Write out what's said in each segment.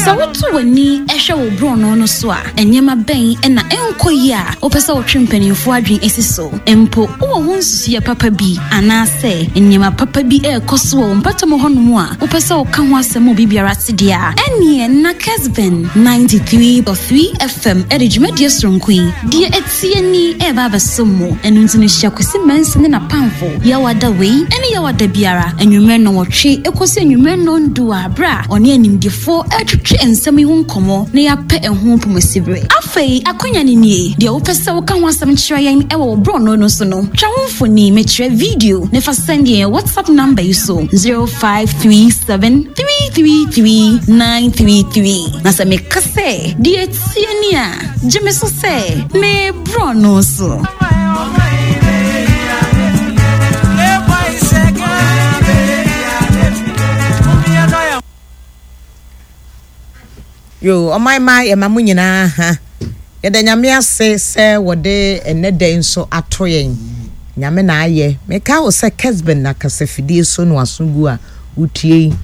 Sɛ woto w'ani hwɛ wo borɔno no so a, nneɛma bɛn na ɛnkɔ yie a wopɛ sɛ wotwe mpanimfoɔ adwene si so? Mpo wowɔ ho nsusuiɛ papa bi anaasɛ nneɛma papa bi rekɔ so wɔ wo mpɔtam hɔnom a wopɛ sɛ woka ho asɛm ma obi biara te deɛ a, ɛnneɛ na Kesben 93.3 FM de dwumadie soronko yi, Deɛ Ɛteɛ Ni, reba abɛsom mo. Ɛno nti no hyia Kwasi Mensah ne n'apamfo Yawada wei ne Yawada biara anwummerɛ nnɔnwɔtwe kɔsi anwummerɛ nnɔndu a berɛ a ɔne animdefoɔ retwetwe nsɛm yi ho nkɔmmɔ na yɛapɛ ɛho mpomasibere. Afei akwanya no nie, deɛ wopɛ sɛ woka ho asɛm kyerɛ yɛn wɔ wo borɔno no so no, twa wo mfoni, mekyerɛ video, na fa sɛnde yɛn WhatsApp number yi so, 0537 333 933. Na sɛ meka sɛ deɛ ɛteɛ ni a, gye me so sɛ me borɔno so. Yo, ɔman ma yɛma mo nyinaa ha. Yɛda Nyame ase sɛ wɔde ɛnnɛ da yi nso ato yɛn. Nyame na ayɛ. Meka wo sɛ Kesben na kasafidie so no aso gu a wotie yi.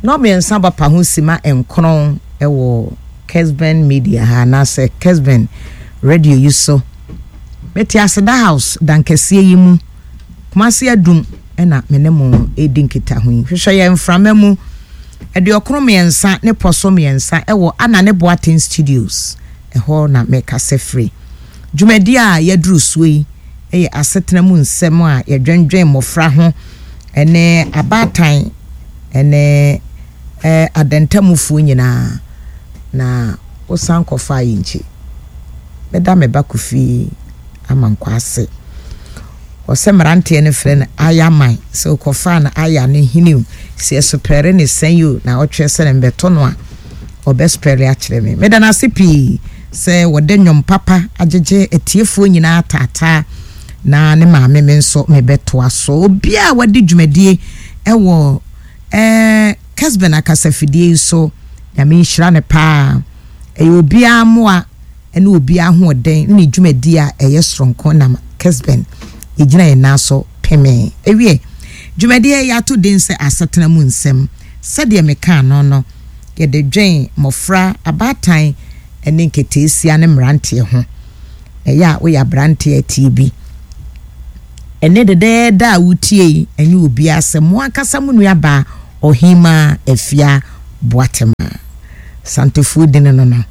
Nnɔmmiɛnsa bapa ho sima nkron wɔ Kesben Media ha anaasɛ Kesben Radio yi so. Mete Aseda House dankɛseɛ yi mu, Kumasi Adum na me ne mo redi nkitaho yi. Hwehwɛ yɛn mframa mu aduokron mmiɛnsa ne pɔ so mmiɛnsa wɔ Anane Boateng Studios, ɛhɔ na mekasa firi. Dwumadie a yɛaduru soɔ yi yɛ asetena mu nsɛm a yɛdwendwen mmɔfra ho ne abaatan ne adantamufoɔ nyinaa na wosan kɔfaa yɛn nkyi. Meda me ba Kofi Amankwah ase. Ɔsɛ mmeranteɛ no frɛ no Ayaman. Sɛ wokɔfaa no Aya no hene o, sɛ yɛsopɛre ne sɛn o, na ɔtwerɛ sɛ no mbɛto no a, ɔbɛspɛre akyerɛ me. Meda no ase pii sɛ wɔde nnwom papa agyegye atiefoɔ nyinaa taataa na ne maame me nso mebɛtoa so. Obiara a wadi dwumadie wɔ eh, Kesben akasafidie yi so, Nyame nhyira no paa. Ɛyɛ obiara mmoa ne obiara ahoɔden ne ne dwumadie a ɛyɛ soronko nam Kesben yɛgyina yɛn nan so pemee. Ewie, dwumadie yi yɛato din sɛ Asetena Mu Nsɛm. Sɛdeɛ mekaa no no, yɛde dwen mmɔfra, abaatan ne nketeesia ne mmeranteɛ ho. Ɛyɛ a woyɛ aberanteɛ a tie bi. Ɛnnɛ dɛdɛɛdɛ a wotie yi, ɛnyɛ obiara sɛ mo ankasa mo nuabaa Ɔhemaa Afia Boatemaa. Santefoɔ dini no no.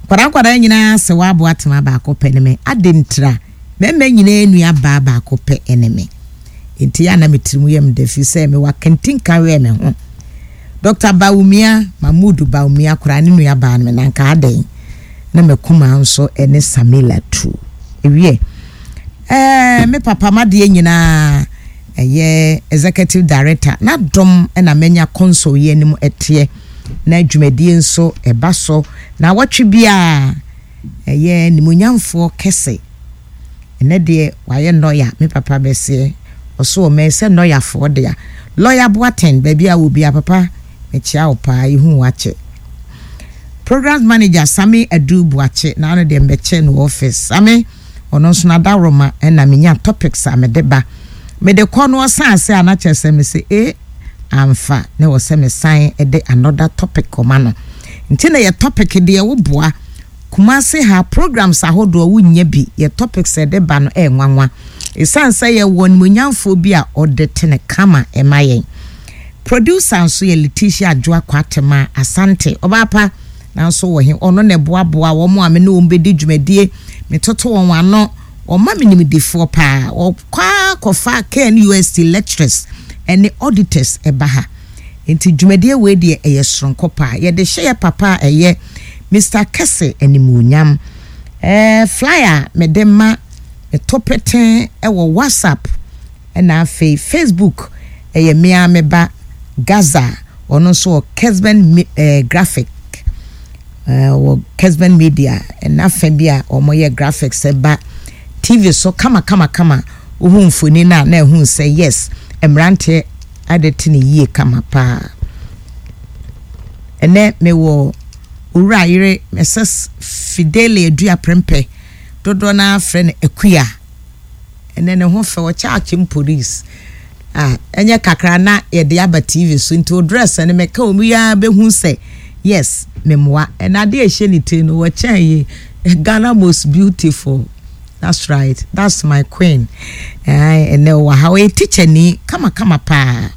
Nkwadaa nkwadaa nyinaa sɛ waa Boatemaa baako pɛ ne me. Adɛn ntira? Mmarima nyinaa nua baa baako pɛ ne me. Enti yɛ a na me tirim yɛ me dɛ firi sɛ mewɔ akantinka wɛ me ho. Dɔkta Bawumia, Mahmood Bawumia koraa ne nua baa no me na nka adɛn na m'akumaa nso ne Samila tu. Ewiɛ, ɛɛ me papa m'adeɛ nyinaa ɛyɛ Executive Director n'adom na manya console yi anim ɛteɛ na dwumadie nso ɛba so naawɔtwe biara ɛyɛ nimuonyamfoɔ kɛse. Ɛnɛ deɛ wayɛ nɔya me papa bɛseɛ ɔso ɔmɛn sɛ nɔyafoɔ dea Lawyer Boateng baabi a wɔ biara papa mekyea wo paa yɛhu wo akyɛ Programs Manager Sammy Adu Boakye na ano deɛ mbɛkyɛ no wɔ office Sammy ɔno nso n'adaworoma ɛna menya topics a mede ba mede kɔ no ɔsan ase a na kyerɛ sɛ mese ee amfa na ɛwɔ sɛ mesan de another topic kɔma no nti na yɛ topic deɛ woboa Kumasi ha programs ahodoɔ wo nnya bi, yɛ topics a yɛde ba no ɛyɛ nwanwa. Ɛsiane sɛ yɛ wɔ animuonyamfoɔ bi a ɔde tene kama ɛma yɛn. Producer nso yɛ Letitia Adwoa Kwatema Asante, ɔbaa pa nanso wɔ he, ɔno na ɛboaboa wɔn a me ne wɔn bɛdi dwumadie, me toto wɔn ano, ɔma me nimdefoɔ paa, ɔkɔ ara kɔfa KNUST lecturers ɛne auditors ɛba ha. Nti dwumadie wei deɛ ɛyɛ soronko paa. Yɛde hyɛ yɛ papa a ɛyɛ Mister Kɛse animuonyam. Ɛɛ flyer a mede ma meto peten wɔ WhatsApp ɛna afei Facebook ɛyɛ me ara me ba Gaza ɔno nso wɔ Kesben ɛɛ graphic ɛɛ wɔ Kesben Media ɛna fa bi a wɔyɛ graphics ɛba TV so kama kama kama wohu mfoni no a na ɛhu sɛ yes mmeranteɛ ade te no yie kama paa. Ɛnɛ mewɔ Owura yere Mrs. Fidelia Adua Prempeh, dodoɔ no ara frɛ no Akua. Ɛnɛ ne ho fɛ, ɔkyɛ akyem police. Ah, ɛnyɛ kakra na yɛde aba TV so nti o dress no mɛka wɔn yi ara bɛhu sɛ. Yes, memoa. Ɛna adeɛ a ɛhyɛ ne tiri no, wɔkyɛn yi, Ghana most beautiful. That's right, that's my queen. Ɛnɛ ɔwɔ ha, ɔyɛ tikyani kamakama paa.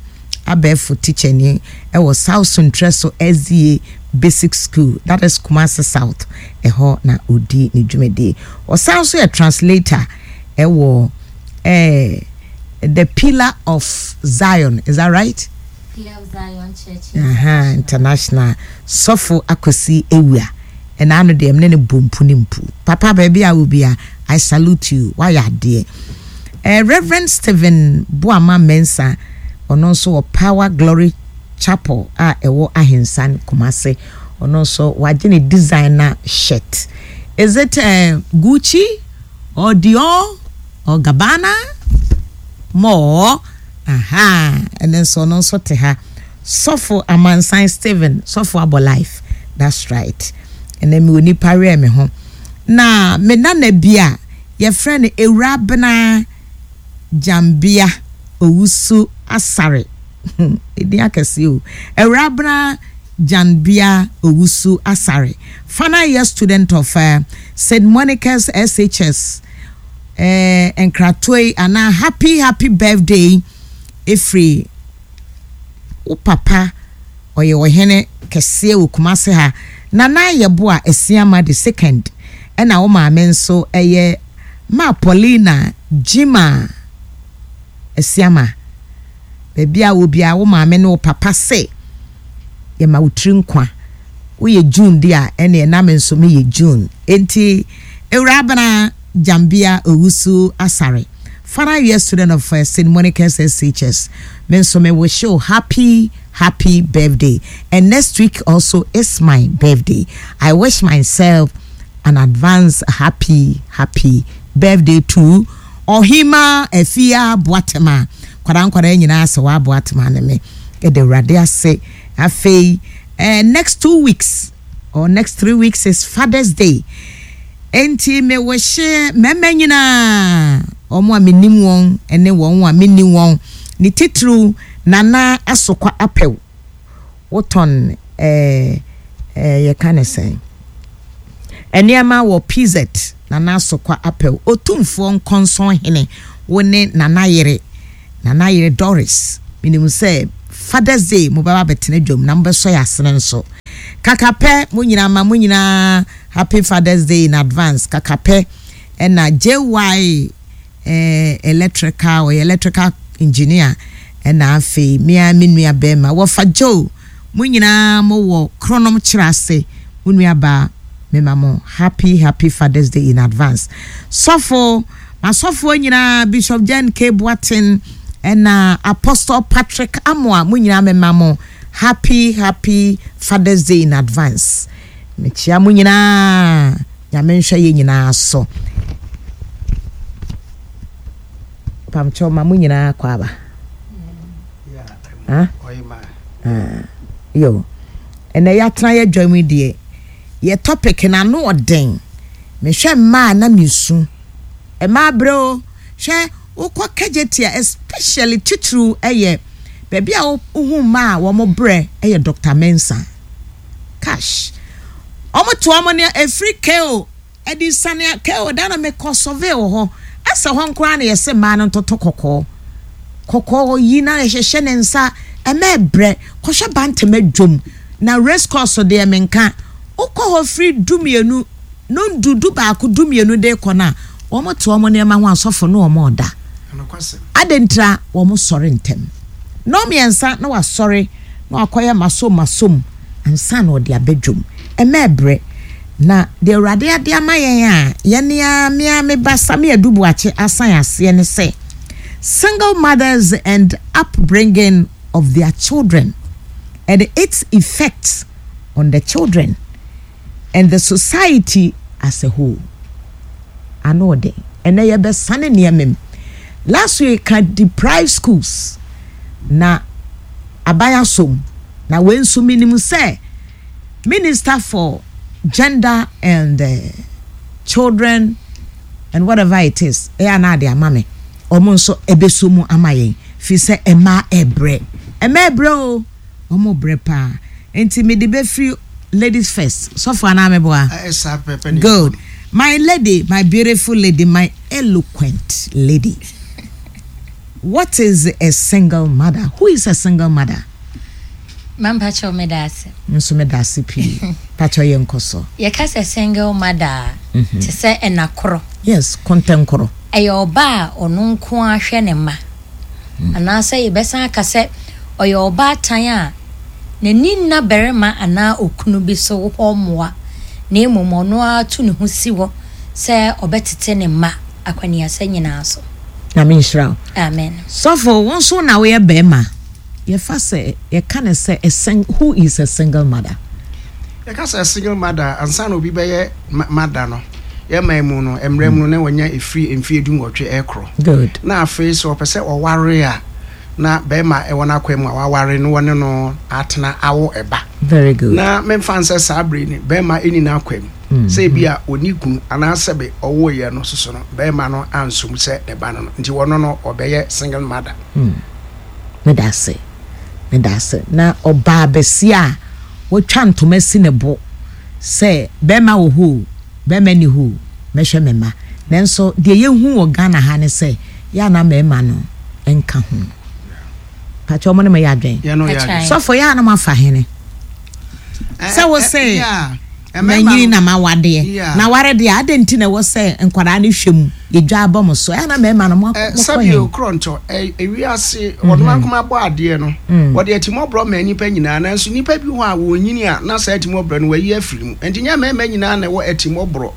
Abɛɛfo tikyani ɛwɔ South Suntreso SDA Basic School, that is Kumasi South. Ɛhɔ na ɔdi ne dwumadie. Ɔsan nso yɛ translator ɛwɔ eh, the Pillar of Zion, is that right? Pillar of Zion Church International. International. Sɔfo Akwasi Awua. Ɛna ano deɛ mene ne bɔ mpu ne mpu. Papa baabi a wo bia, I salute you. Wayɛ adeɛ. Eh, Reverend Stephen Boama Mensah, ɔno nso wɔ Power Glory Chapel a ɛwɔ Ahensan, Kumasi. Ɔno nso wagye ne designer shirt. Is it uh, Gucci or Dior or Gabbana? More? Ahaa, ɛno nso ɔno nso te ha. Sɔfo Amansan Stephen, sɔfo abɔ life. That's right. Ɛnɛ mewɔ nipa werɛ me ho. Na me nana bi a yɛfrɛ no Ewurabena Gyambea Owusu Asare. Edin akɛse o. Ewurabena Gyanbea Owusu Asare. Final year student of uh, St. Monica's SHS. Eh, nkratoɔ yi anaa happy happy birthday ɛfiri wo papa ɔyɛ ɔhene kɛseɛ wɔ Kumase ha Nana Yeboah Asiamah the second ɛna wo maame nso ɛyɛ Ma Paulina Gyimah Asiamah baabi a wɔ biara wo maame ne wo papa se yɛma wo tiri nkwa woyɛ June de a ɛneɛ na me nso meyɛ June enti Ewurabena Gyambea Owusu Asare final year student of uh, St. Monica's SHS me nso me wish you happy happy birthday and next week also is my birthday I wish myself an advance happy happy birthday to Ɔhemaa Afia Boatema Nkwadaa nkwadaa nyinaa sɛ waa Boatema ne me yɛda Awurade ase afei eh, next 2 weeks or next 3 weeks is Father's Day, enti me wɔhyɛ mmarima nyinaa, wɔn a menim wɔn ne wɔn a menni wɔn, ne titiriw Nana Asokwa Apɛw, wotɔn eh, eh, yɛka ne sɛn, nneɛma wɔ PZ. Nana Asokwa Apɛw, Otumfoɔ Nkɔnsɔn Hene, wo ne Nana Yere, Nana Yere Doris, menim sɛ Father's Day mobɛba abɛtena dwam na mobɛsɔ yɛn asene nso. Kakapɛ, mo nyinaa ma mo nyinaa Happy Father's Day in advance. Kakapɛ, ɛna JY eh, electrical, ɔyɛ electrical engineer, ɛna afei me ara me nua bɛrima, wɔfa Joe, mo nyinaa mowɔ Kronom kyerɛ ase, mo nua baa, mema mo happy happy Father's Day in advance. Sɔfo, masɔfoɔ nyinaa, Bishop Jen K. Boateng, ɛna Apostle Patrick Amoah, mo nyinaa mema mo happy happy Father's Day in advance. Mekyia mo nyinaa, Nyame nhwɛ yɛ nyinaa so. Pamkyɛw ma mo nyinaa kɔ aba. Ah? Ah. Yo. Ɛnɛ yɛatena yɛ dwam yi deɛ, yɛ topic no ano ɔden. Mehwɛ mmaa na mesu. Mmaa brɛ o. Hwɛ, wokɔ Kejetia especially titiriw ɛyɛ baabi a wohu mmaa a wɔn brɛ ɛyɛ Dr. Mensah. Cash. Wɔn to wɔn nea ɛfiri KO ɛde sane a KO da na mekɔ survey wɔ hɔ. Ɛsɛ hɔ nkoraa na yɛsɛ mmaa no ntoto kɔkɔɔ. Kɔkɔɔ yi na yɛhyehyɛ ne nsa ɛmɛ brɛ. Kɔhwɛ Bantam adwom na race course deɛ menka. Wokɔ hɔ firi 12, nondu, 11, 12 de kɔ no a, wɔn te wɔn nneɛma ho asɔfo ne wɔn ɔda. Adɛn ntira wɔn sɔre ntɛm? Nnɔnmiɛnsa na wasɔre na wakɔyɛ masom masom ansa na ɔde aba dwam. Ɛmɛ brɛ. Na deɛ Awurade ade ama yɛn a yɛne ara me ara me ba Sammy Adu Boakye asan aseɛ ne sɛ single mothers and upbringing of their children and its effects on the children and the society as a whole. Ano ɔden. Ɛnɛ yɛbɛsane nneɛma mu. Last week ka deprived schools na aban asom na wei nso menim sɛ Minister for Gender and uh, Children and whatever it is ɛyɛ anaa de ama me, wɔn nso ɛbɛso mu ama yɛn fi sɛ mmaa ɛbrɛ, mmaa ɛbrɛ o, wɔn brɛ paa, nti mede bɛfiri. Ladies first. Sɔfo anaa meboa? Saa pɛpɛ ne Good. My lady, my beautiful lady, my eloquent lady. What is a single mother? Who is a single mother? Mampakyɛw meda ase. Nso meda ase pii. Pakyɛw yɛ nkɔ so. Yɛka sɛ single mother a, te sɛ ɛna koro. Yes, kɔntɛnkoro. Ɛyɛ ɔba a ɔno nko ara hwɛ ne mma. Anaasɛ yɛbɛsan aka sɛ ɔyɛ ɔbaatan a n'ani nna barima anaa okunu bi so hɔ mmoa, na mmom ɔno ara tu ne ho si hɔ sɛ ɔbɛtete ne mma akwaniasa nyinaa so. Nyame nhyira wo. Amen. Sɔfo, wo nso na woyɛ barima. Yɛfa sɛ, yɛka no sɛ a sing, who is a single mother? Yɛka sɛ single mother a, ansa na obi bɛyɛ mother no, yɛn man mu no, mmerɛ mu no, na wanya ɛfiri mfeɛ dunwɔtwe rekorɔ. Good. Na afei sɛ ɔpɛ sɛ ɔware a, na barima ɛwɔ n'akwan mu a waware na wɔne no atena awo ɛba. Very good. Na memfa nsɛ saa bere ni, barima ɛni n'akwan mu. Sɛ ebi a ɔni kunu anaa sɛbe ɔwoeɛ no soso no, barima no anso mu sɛ ne ba no no, nti ɔno no ɔbɛyɛ single mother. Meda ase. Meda ase. Na ɔbaa basia a watwa ntoma asi ne bo sɛ bɛrima wɔ hɔ o, bɛrima nni hɔ o, mɛhwɛ me mma. Nanso deɛ yɛhu wɔ Ghana ha ne sɛ, yɛ a na mmarima no nka ho. Pakyɛ wɔn ne mo yɛ adwene? Sɔfo, yɛ a na moafa hene? Sɛ wo se manyini na mawadeɛ, na ware deɛ adɛn nti na ɛwɔ sɛ nkwadaa no hwɛ mu, yɛdwa abɔ mo so, ɛyɛ na mmarima no moakɔ he? Sɛbio korɔntɔ, ewiase wɔnom ankoma bɔ adeɛ no, wɔde atimɔborɔ maa nnipa nyinaa, nanso nnipa bi hɔ a wɔnyini a na saa atimɔborɔ no wɔayi afiri mu. Enti nyɛ mmarima nyinaa na ɛwɔ atimɔborɔ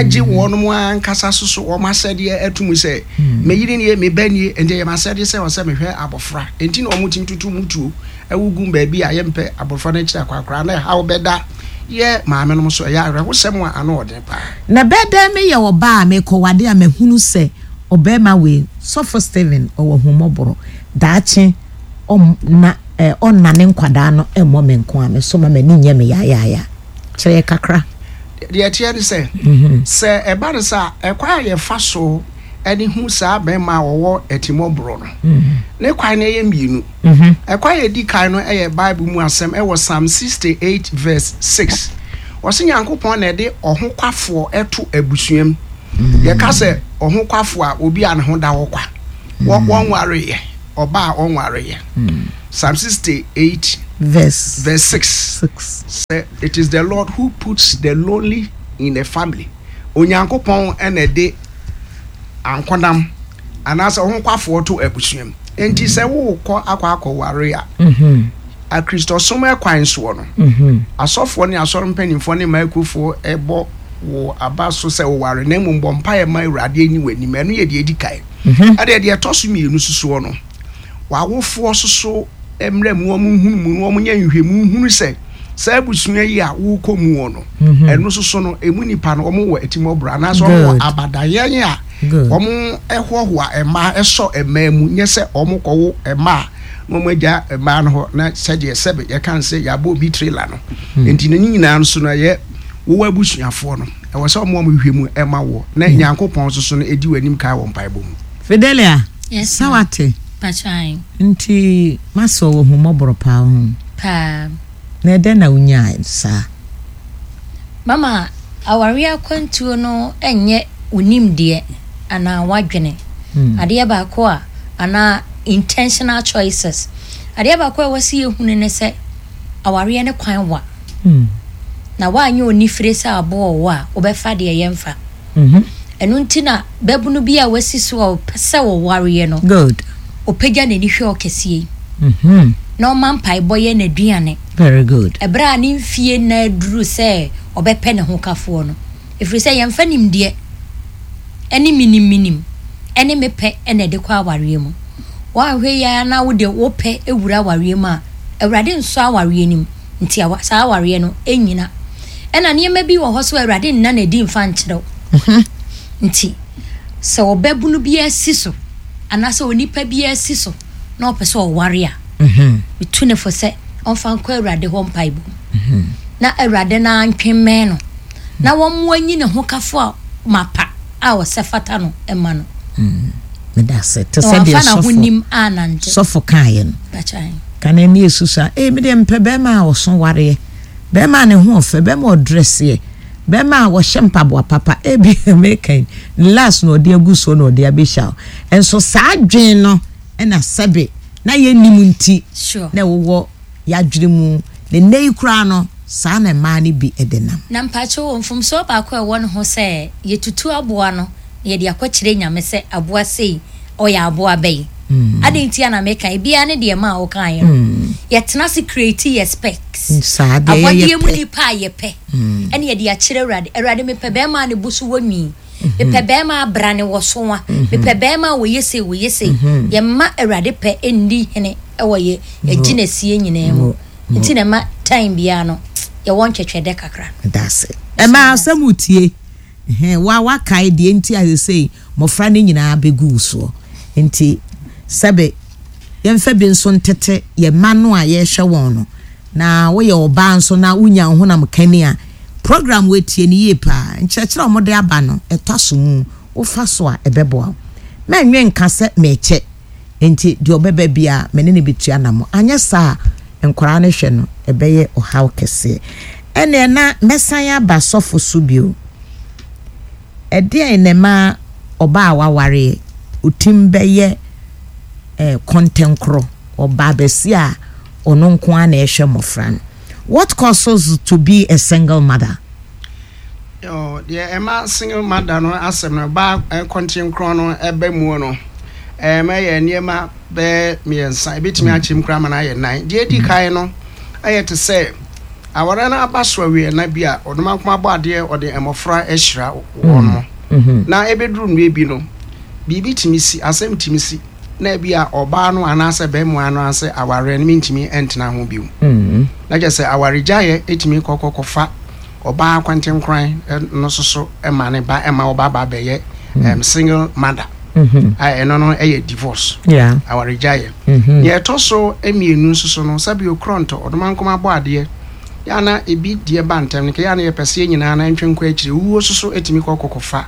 gye wɔnom ankasa soso wɔn asɛdeɛ ato mu sɛ, me yere nie, me ba nie, enti ɛyɛ m'asɛdeɛ sɛ ɛwɔ sɛ mehwɛ abɔfra. Enti na wɔtumi tutu mutuo Awu gu baabi a yɛmpɛ abɔfra no akyiri akwakoraa na ɛhaw bɛda yɛ maamenom so. Ɛyɛ awerɛhosɛm a ano wɔ den paa. Na ɛbɛyɛ dɛn meyɛ ɔbaa a merekɔwade a mahunu sɛ ɔbarima wei, Sɔfo Stephen, ɔwɔ ahummɔborɔ, daakye ɔmma eh, ɔnna ne nkwadaa no mmɔ me nko a, me so ma m'ani nyɛ me yaayaaya. Kyerɛ yɛ kakra. Deɛ ɛteɛ ne sɛ, sɛ ɛba no saa a, ɛkwan a yɛfa so de hu saa barima a ɔwɔ atimmɔborɔ no, ne kwan no yɛ mmienu. Ɛkwan a edi kan no yɛ Bible mu asɛm ɛwɔ Psalm 68 verse 6. Ɔse Nyankopɔn na ɛde ɔhokwafoɔ to abusua mu. Yɛka sɛ ɔhokwafoɔ a, obi a ne ho da hɔ kwa. Wɔnwareeɛ, ɔbaa a ɔnwareeɛ. Psalm 68 verse 6 sɛ it is the Lord who puts the lonely in a family. Onyankopɔn na ɛde ankonam anaasɛ ɔhokwafoɔ to abusua mu. Enti sɛ worekɔ akɔ akɔware a, Akristosom kwan soɔ no, asɔfoɔ ne asɔre mpanimfoɔ ne mmaekuofoɔ bɔ wo aba so sɛ woware, na mmom bɔ mpaeɛ ma Awurade anyi w'anim. Ɛno yɛ deɛ ɛdi kan. Ɛdeɛ deɛ ɛtɔ so mmienu sosoɔ no, w'awofoɔ soso mmra mu, wɔn nhunu mu, na wɔn nyɛ nhwehwɛmu nhunu sɛ saa abusua yi a wokɔ mu wɔ no, mhm. ɛno soso no, emu nipa no wɔn wɔ atimɔborɔ anaasɛ wɔn wɔ abadayɛn a wɔn ɛhoahoa mmaa ɛsɔ mmaa mu, nyɛ sɛ wɔn kɔwo mmaa na wɔn agya mmaa no hɔ na sɛdeɛ sɛbe yɛka sɛ yɛabɔ obi trailer no hmm. nti ne nyinaa nso no ɛyɛ wowɔ abusuafoɔ no ɛwɔ sɛ wɔn wɔn hwehwɛ mu ɛma wɔ na hmm. Nyankopɔn soso no edi wɔ anim kan wɔ mpaebɔ mu. Fidelia, sɛ wate. Nti masɔ wɔ ahummɔborɔ paa ho. Paa. Na ɛdɛn na wonyaa saa? Mama, awareɛ akwantuo no nyɛ wo nimdeɛ anaa w'adwene. Adeɛ baako a, anaa intentional choices. Adeɛ baako a ɛwɔ sɛ yɛhunu ne sɛ, awareɛ no kwan wa. Na woanyɛ onifire sɛ aboa ɔwɔ a, wobɛfa deɛ yɛmfa. Ɛno nti na babunu bi a wasi so a ɔpɛ sɛ ɔwareɛ no, Good. ɔpagya n'ani hwɛ ɔkɛseɛ yi, na ɔma mpaebɔ yɛ n'aduane. Very good. Ɛberɛ a ne mfie nna aduru sɛ ɔbɛpɛ ne hokafoɔ no, ɛfiri sɛ yɛmfa nimdeɛ ne menim-menim ne mepɛ na ɛde kɔ awareɛ mu. Woanhwɛ yie ara na wode wo pɛ wura awareɛ mu a, Awurade nsɔ awareɛ no mu. Nti awa saa awareɛ no nnyina. Ɛna nneɛma bi wɔ hɔ so a Awurade nna no adi mfa nkyerɛ wo. Nti sɛ ɔbabunu biara si so anaasɛ onipa biara si so na ɔpɛ sɛ ɔware a, metu no fo sɛ ɔmfa nkɔ Awurade hɔ mpaebɔ mu. Na Awurade no ara ntwe mmɛn no na wɔmmoa nyi ne hokafo a mapa a ɔsɛ fata no mma no. Meda ase. Te sɛ deɛ sɔfo sɔfo kaeɛ no. Ka na ani esusu a, ee me deɛ mepɛ bɛrima a ɔso wareɛ. Bɛrima a ne ho ɔfɛ, bɛrima a ɔdrɛseɛ, bɛrima a ɔhyɛ mpaboa papa, ebi meka yi, ne last na ɔde agu soɔ na ɔde abɛhyia wo. Nso saa adwene no na sɛbe na yɛnnim nti na ɛwowɔ yɛadwene mu, na nnɛ yi koraa no, saa na mmaa no bi de nam. Na mpakyɛw o, mfomsoɔ baako a ɛwɔ ne ho sɛ yɛtutu aboa no na yɛde akɔkyerɛ Nyame sɛ aboa sei ɔyɛ aboa bɛn. Adɛn nti a na meka? Ebiara ne deɛ ɛmaa wokaeɛ no. Yɛtena ase create yɛ specs. Saa deɛ yɛyɛ Abɔdeɛ mu pɛ. nipa a yɛpɛ ɛne yɛde akyerɛ Awurade. Awurade mepɛ bɛrima a ne bo so wɔ nwi. Mepɛ bɛrima a brane wɔ so a. Mepɛ bɛrima a wɔyɛ sei wɔyɛ sei. Yɛmma Awurade pɛ nni hene wɔ yɛ gyinasie nyinaa mu. Nti na ɛma time biara no yɛwɔ ntwɛtwɛdɛ kakra. Meda ase. Ɛma asɛm wotie. Ɛhɛn, wo a woakae deɛ nti a seesei mmɔfra no nyinaa bɛgu wo soɔ. Nti sɛbe yɛmfa bi nso ntete yɛn mma no a yɛrehwɛ wɔn no. Na woyɛ ɔbaa nso na wonya wo honam kani a, program wei tie no yie paa. Nkyerɛkyerɛ a wɔde aba no, ɛtɔ aso mu. Wofa so a, ɛbɛboa wo. Mɛnnwen nka sɛ merekyɛ nti deɛ ɔbɛba biara me ne no bɛtu anammɔn. Anyɛ saa a, nkwadaa no hwɛ no, ɛbɛyɛ ɔhaw kɛseɛ. Ɛnneɛ na mɛsan aba sɔfo so bio. Ɛdeɛn na ɛma ɔbaa a wawareɛ ɔtim bɛyɛ eh, kɔntɛnkorɔ, ɔbaa bɛsi a ɔno nko ara na ɛhwɛ mmɔfra no? What causes to be a single mother? Yo, deɛ ɛma single mother no asɛm no ba kɔntenkorɔn no ɛba mu no, ɛma yɛ nneɛma bɛyɛ mmiɛnsa, ebetumi akyɛm koraa ma no ayɛ nan. Deɛ edi kan no, ɛyɛ te sɛ aware no aba so awie na bi a ɔdomankoma bɔ adeɛ ɔde mmɔfra ahyira wɔn mo. Na ebeduru mmerɛ bi no, biribi tumi si, asɛm tumi si, na ebi a ɔbaa no anaasɛ bɛrima no anaasɛ awareɛ no mentumi ntena ho bio. Na kyerɛ sɛ awaregyaeɛ etumi kɔkɔ kɔfa ɔbaa kwantenkoran no nso so ma ne ba ma ɔba ba bɛyɛ um, single mother mm-hmm. a ɛno no yɛ divorce awaregyaeɛ mm-hmm. nea ɛtɔ so mmienu nso so no sɛbi okorɔntɔ ɔdomankoma bɔ adeɛ yɛ ana ebi deɛ ba ntɛm no kɛyɛ ana yɛpɛ sɛ yɛn nyinaa na ntwe nkɔ akyire wuo nso so etumi kɔ kɔkɔfa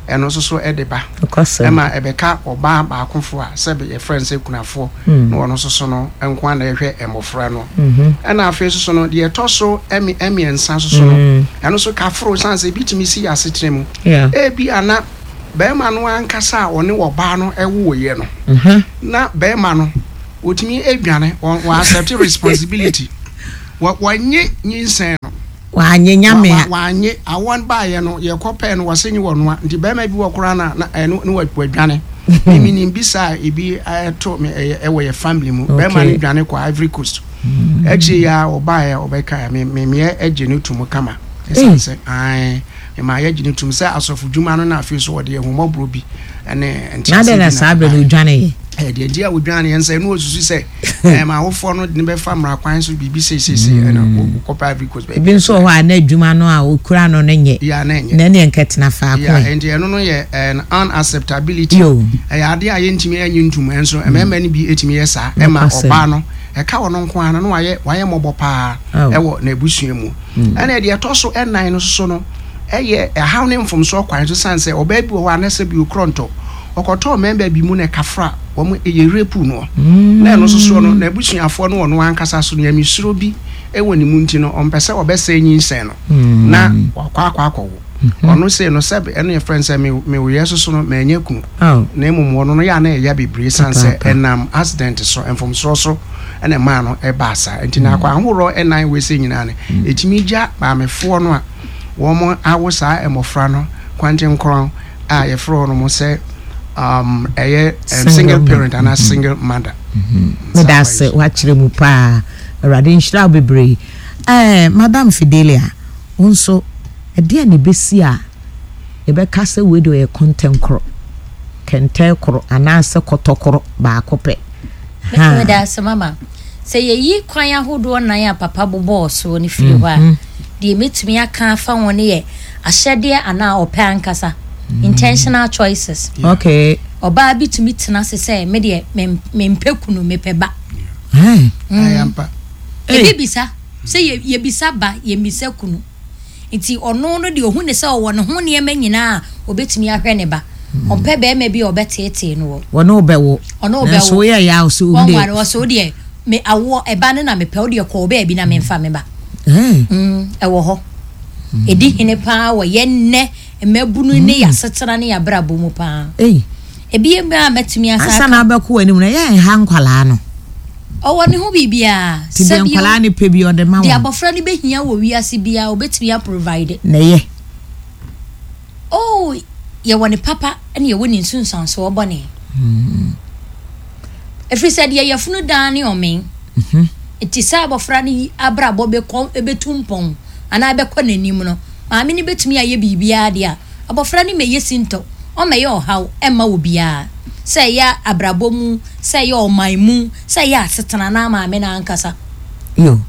ɛno nso so de ba ɛma ɛbɛka ɔbaa baakofo a sɛbe yɛfrɛ no sɛ kunafoɔ hmm. na ɔno nso so no nko ana ɛhwɛ mmɔfra no mhm. ɛna afei nso so no deɛ ɛtɔ so mmiɛnsa nso so no hmm. ɛno nso kaforo san sɛ ebi tumi si asetena mu ebi ana bɛrima no ankasa a ɔne ɔbaa no ɛwoeɛ no mhm. na bɛrima no wɔtumi adwane wɔn accept responsibility wɔnye nyinsɛn no W'anye nyame a. W'anye, awɔ no baayɛ no yɛ kɔ pɛɛ no wɔse nye wɔnoa nti bɛɛma bi wɔ koraa na na ɛno ne wadwane me me nim bi saa ebi ɛto me ɛyɛ ɛwɔ yɛ family mu bɛɛma no dwane kɔ Ivory Coast akyire yi a ɔbaayɛ ɔbɛka me me meɛ ɛgye no tum kama ɛsan sɛ ae me maa yɛ gye no tum sɛ asɔfo dwuma no na afei so wɔde ahummɔborɔ bi ɛne ntease bi na saa bere no odwane yɛ ɛdeɛ nti a odwane yɛ nsɛ ɛno osusu sɛ Ɛɛ ma awofoɔ no de no bɛfa mmara kwan so biribi seisei ɛna wokɔpɛ Ivory Coast baabi. Ebi nso wɔ hɔ a na adwuma no a okura no no nyɛ. Yeah, na ɛnyɛ. Na ɛneɛ nkɛtena faako Yeah, nti ɛno no yɛ an unacceptability. Yo. Ɛyɛ adeɛ a yɛntumi ɛnye ntum ɛnso mmarima no bi ɛtumi yɛ saa ɛma ɔbaa no ɛka ɔno nko ara no na wayɛ wayɛ mmɔbɔ paa ɛwɔ n'abusua mu. Ɛna deɛ ɛtɔ so ɛnan no soso no ɛyɛ ɛhaw ne mfomsoɔ kwan so sane sɛ ɔbaa bi wɔ hɔ a na sɛ bi okorɔ ntɔ ɔkɔtɔɔ mmarima bi mu na ɛkafra wɔn yɛ rape noɔ na ɛno nso soɔ no n'abusuafoɔ no ɔno ankasa so nyamesuro bi wɔ ne mu nti no ɔmpɛ sɛ ɔbɛsɛe nyinsɛn no na wakɔ akɔ akɔwo ɔno sei no sɛ ɛno yɛ frɛ sɛ mewoyɛ soso no manya kunu na mmom ɔno no yɛ a na ɛya bebree san sɛ ɛnam accident so mfomsoɔ so ɛna ɛmaa no ɛbaa saa nti na akɔ ahoroɔ ɛnan wei sɛ nyinaa no ɛtumi gya maamefoɔ no a wɔn awo saa mmɔfra no kwantenkorɔn a yɛfrɛ wɔn sɛ um, ɛyɛ um, single parent anaa mm-hmm. single mother. Mm-hmm. Meda ase wakyerɛ mu paa awurade nhyira wo bebree ɛɛ madam Fidelia wo nso ɛdeɛ na ebesi a yɛbɛka sɛ wei de ɔyɛ kɔntɛnkorɔ kɛntɛn koro anaasɛ kɔtɔkorɔ baako pɛ. Meda ase mama. Sɛ yɛyi kwan ahodoɔ nan a papa bobɔɔ soɔ no firi hɔ a, mm-hmm. deɛ mɛtumi aka afa ho no yɛ ahyɛdeɛ anaa ɔpɛ ankasa, intentional choices. Okay. Ɔbaa bi tumi tena ase sɛ me deɛ mempɛ kunu mepɛ ba. Mm. Ebi bisa sɛ yɛbisa ba yɛmmisa kunu. Nti ɔno no deɛ ɔhu ne sɛ ɔwɔ ne ho nneɛma nyinaa a ɔbɛtumi ahwɛ ne ba. Ɔmpɛ bɛrima bi a ɔbɛteetee no wɔ. Wɔne wo bɛwo. Ɔne wo bɛwo. Nanso woyɛ yaw so wo deɛ. Wɔnware ɔsɛ wo deɛ me awoɔ ɛba no na mepɛ wo deɛ kɔɔ baabi na memfa me ba. Mm, ɛwɔ hɔ. Ɛdi hene paa wɔ yɛn nnɛ mmabunu ne yɛn asetena ne yɛn abrabɔ mu paa. Ebi yɛ a mɛtumi asa aka. Ansa na abɛkɔ w'anim no, ɛyɛ nha nkwadaa no. Ɔwɔ ne ho biribiara. Ti deɛ nkwadaa no pɛ bi ɔde ma wɔn. Deɛ abɔfra no bɛhia wɔ wiase biara ɔbɛtumi aprovide. Na ɛyɛ. Oh, yɛwɔ ne papa ne yɛwɔ ne nsunsuansoɔ bɔne. Ɛfiri sɛ deɛ yafunu daa ne ɔmen. Nti sɛ abɔfra no abrabɔ bɛkɔ bɛtu mpɔn anaa bɛkɔ n'anim no, maame no bɛtumi ayɛ biribiara deɛ a, abɔfra no mmɛyɛ sintɔ, ɔmmɛyɛ ɔhaw mma obiara. Sɛ ɛyɛ abrabɔ mu, sɛ ɛyɛ ɔman mu, sɛ ɛyɛ asetena anaa maame no ankasa. Yo.